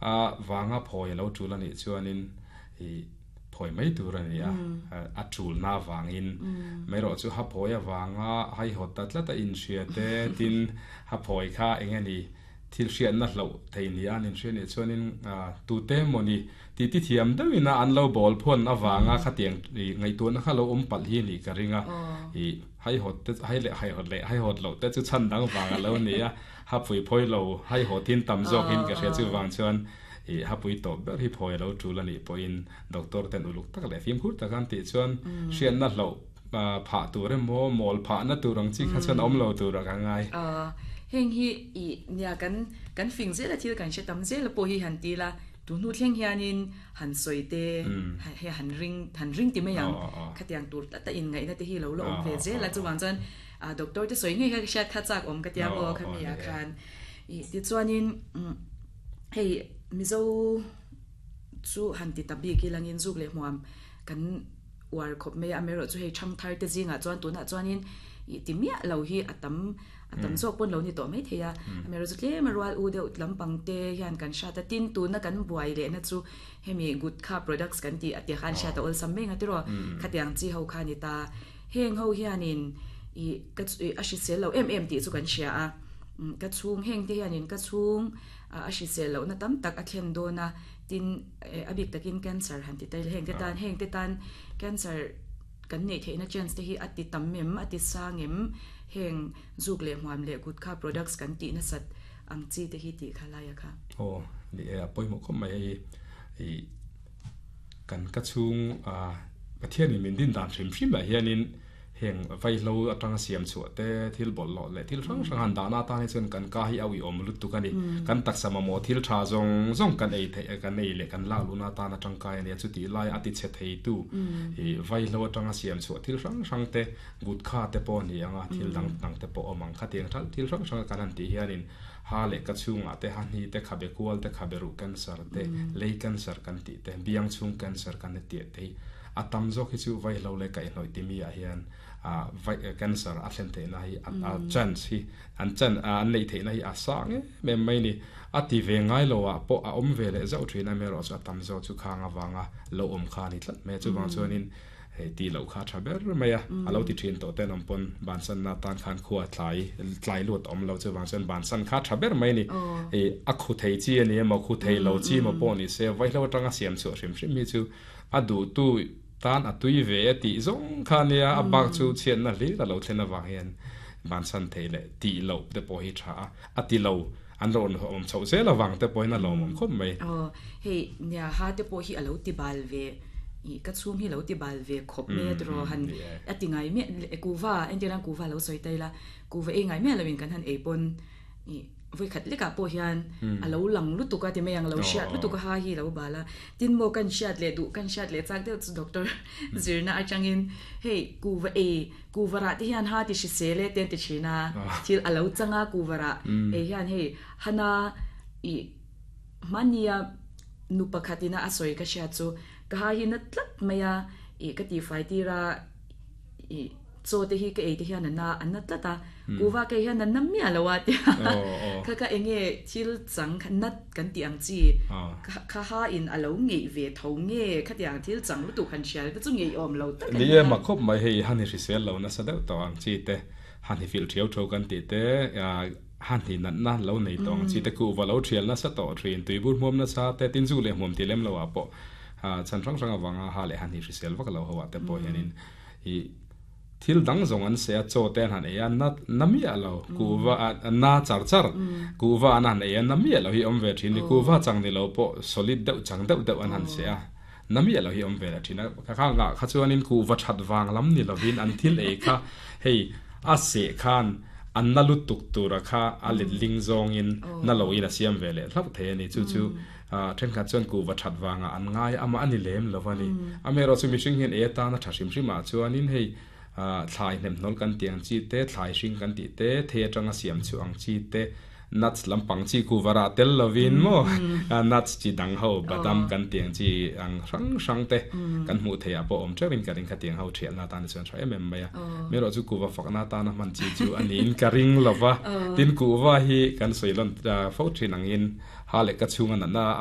A vanga phawi a lo tul a nih chuanin ih phawi mai tur a ni a, a tulna avangin mai erawh chu ha phawi avanga haihawt ta tlat a inhria te tin ha phawi kha eng nge ni thil hriatna hloh thei ni a an inhria nih chuanin tute emawni ti ti thiam deuhin a an lo bawl phawn avanga khatiang ih ngaihtuahna kha lo awm palh hi a nih ka ring a, ih haihawt te hai leh haihawt leh haihawt loh te chu chhan dang vang a lo ni a. Hapui phawi lo haihawt in tam zawkin ka hria chuvang chuan ih hapui tawp ber hi phawi a lo tul a nih pawhin doctor ten uluk tak leh fimkhur tak an tih chuan hriatna hloh phah tur emaw mawl phahna tur ang chi kha chuan a awm lo tur ah ka ngai. Heng hi ih nia kan kan fing zel a thil kan hre tam zel a pawh hi han ti la tu hnu thleng hianin han sawi te he han ring han ring ti mai ang khatiang tur tlat a inngaihna te hi lo la awm ve zel a chuvang chuan A doctor te sawi ngei kha ka hriat kha chak awm ka tia maw kha mi ah khan ih tichuanin hei Mizo chu han ti ta bik ilangin zuk leh hmuam kan uar khawp mai a amaherawh chu hei thangthar te zingah chuan tunah chuanin ih ti miah lo hi a tam a tam zawk pawn lo ni tawh mai thei a amaherawh chu tlem a rual u deuh lampang te hian kan hriat a tin tuna kan buai lehna chu hemi gutkha products kan tih a tia khan hriat a awlsam mai ang a tiraw khatiang chi ho kha a ni ta. Heng ho hianin ih ka a hrisel lo em em tih chu kan hria a, ka chhung heng te hianin ka chhung a hrisel lohna tam tak a thlen dawn a, tin a bik takin cancer han ti ta ila heng te tan heng te tan cancer kan neih theihna chance te hi a ti tam em a ti sang em heng zuk leh hmuam leh gutkha products kan tih nasat ang chi te hi tih kha lai a kha. Aw ni e a pawimawh khawp mai hei ih. Kan ka chhung Pathianin min din dan hrim hrimah hianin heng vaihlo atanga siam chhuah te, thil bawlhhlawh leh thil hrang hrang han dahna atan hi chuan kan ka hi a uiawm lutuk a ni. Kan taksa mamawh thil tha zawng zawng kan ei theih kan ei leh kan lak luhna atana tangkai a nia. Chutih laia a tichhe theitu ih vaihlo atanga siam chhuah thil hrang hrang te, gutkha te pawh a ni ang a, thil dang dang te pawh a awm ang. Khatiang thil hrang hranga kan han tih hianin Ha leh ka chhungah te, ha hni te, khabe kual te, khabe ruh cancer te, lei cancer kan tih te, biang chhung cancer kan hetiah te hi a tam zawk hi chu vaihlo leh kaihhnawih timi ah hian vai cancer a thlen theihna hi a chance hi an chan an neih theihna hi a sang em em mai ni. A ti ve ngai lo ah pawh a awm ve leh zauh thin a, amaherawhchu chu a tam zawk chu khang avanga lo awm kha a ni tlat mai a, chuvang chuanin Hei tih loh kha a tha ber mai a, a lo ti thin tawh ten awm pawn bansanna atan khan khua tlai tlai lut awm lo chuvang chuan bansan kha a tha ber mai a ni. Hei a khu thei chi a ni emaw khu thei lo chi emaw pawh ni se vaihlo atanga siam chhuah hrim hrim hi chu a duhtu tan a tui ve e tih zawng kha a nia, a bak chu chhiatna hlir a lo thlen avang hian bansan thei leh tih loh te pawh hi tha a, a ti lo an rawn awm chhoh zel avang te pawhin a lawmawm khawp mai. Aw, hei nia ha te pawh hi a lo ti bal ve, ih ka chhung hi lo ti bal ve khawp mai a tiraw han a ti ngai miah kuva entir nan kuva lo sawi ta ila, kuva ei ngai miah loin kan han ei pawn ih vawikhat lekah pawh hian a lo lang lutuk a ti mai ang, lo hriat lutuk a ha hi lo bal a, tin maw kan hriat leh duh kan hriat leh chak deuh chu doctor zirna atangin hei kuva ei Kuvarah te hian ha ti hrisel e te an ti thin a, thil a lo chang a kuvarah hei hian hei hana ih hmania nu pakhat ina a sawi ka hriat chu ka ha hi na tlat mai a ih ka tihfai tir a ih chaw te hi ka ei te hian a na a na tlat a kuva ka ei hian a na miah lo a tia kha kha eng nge thil chang kha nat kan tih ang chi kha ha in a lo ngeih ve tho nge khatiang thil chang lutuk han hrial te chu ngeiawm lo tak a nia. Ni e mak khawp mai hei han i hrisel lo nasa deuh tawh ang chi te han i filh thiau tho kan tih te han i natna lo nei tawh ang chi te kuhva lo thial nasa tawh thin tuibur hmuam nasa te tin zu leh hmuam ti lem lo ah pawh chhan hrang hrang avanga ha leh han i hrisel vak lo ho ah te pawh hianin i Thil dang zawng an seh a, chaw te an han ei a, na na miah lo, kuhva a na char char, kuhva an han ei a, na miah lo hi awm ve thin ni, kuhva chang ni lo pawh solid deuh chang deuh deuh an han seh a, na miah lo hi awm ve leh thin a, ka kha ngah kha chuanin kuhva that vang lam ni lovin an thil ei kha hei a seh khan a na lutuk tura kha a let ling zawngin na loin a siam ve leh hlauh thei a ni, chu chu Thenkhat chuan kuhva that vangah an ngai a, amah a ni lem lo a ni. Amaherawhchu mihring hian ei atana tha hrim hrimah chuanin hei thlai hnemhnawl kan tih ang chi te, thlai hring kan tih te, thei atanga siam chhuah ang chi te, nuts lampang chi kuhva rah tel lovin maw nuts chi dang ho badam kan tih ang chi ang hrang hrang te kan hmuh theih ah pawh awm teuhin ka ring khatiang ho thialna atan chuan tha em em mai a. Amaherawhchu kuhva fakna atana hman chi chu a niin ka ring lo va, tin kuhva hi kan sawi lawn fo thin angin Ha leh ka chhunga natna.